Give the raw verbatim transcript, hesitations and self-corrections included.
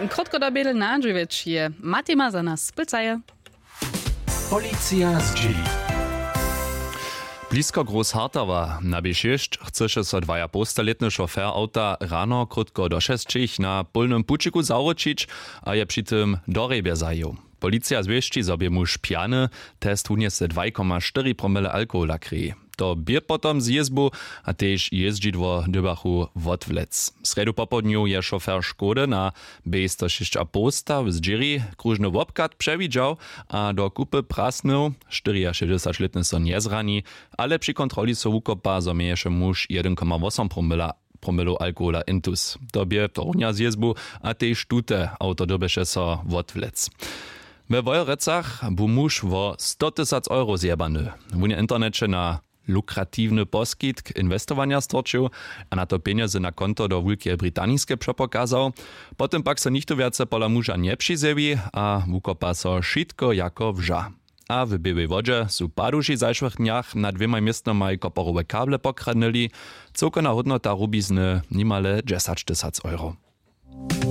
Krótko do bědl na dźewjeć je matima za nas pylcaje. Policija zdźěli. Blisko Großhartawa na B šěsć chcyše so dwajapołstalětny šofer awta rano krótko do šesćich na pólnym pućiku zawróćić a je při tym do hrjebje zajěł. Policija zwěsći, zo bě muž pjany. Test wunjese dwaj koma štyri promile alkohola krěji. To bě potom z jězbu a tež jězdźidło dyrbjachu wotwlec. W srjedu popołdnju je šofer škody na bej sto šěsć a poł staw zdźěri króžny wobchad přewidźał a do kupy prasnył. Štyriašěsćdźesaćlětny so njezrani, ale při kontroli so wukopa, zo měješe muž jedyn koma wosym promilow alkohola intus. To bě tohornja z jězbu a tež tute awto dyrbješe so wotwlec. We wojerecach bu muž wo sto tysac euro zjebany. Wón je w interneće na lukratiwny poskitk inwestowanja storčił a na to pjenjezy na konto do wulkeje britaniske přepokazał. Potom pak so nichtó wjace pola muža njepřizjewi a wukopa so wšitko jako wža. A w běłej wodźe su paduši w zašłych dnjach nad dwěmaj městnomaj koporowe kable pokradnyli. Cyłkowna hódnota rubizny nimale dźesaćtysac euro.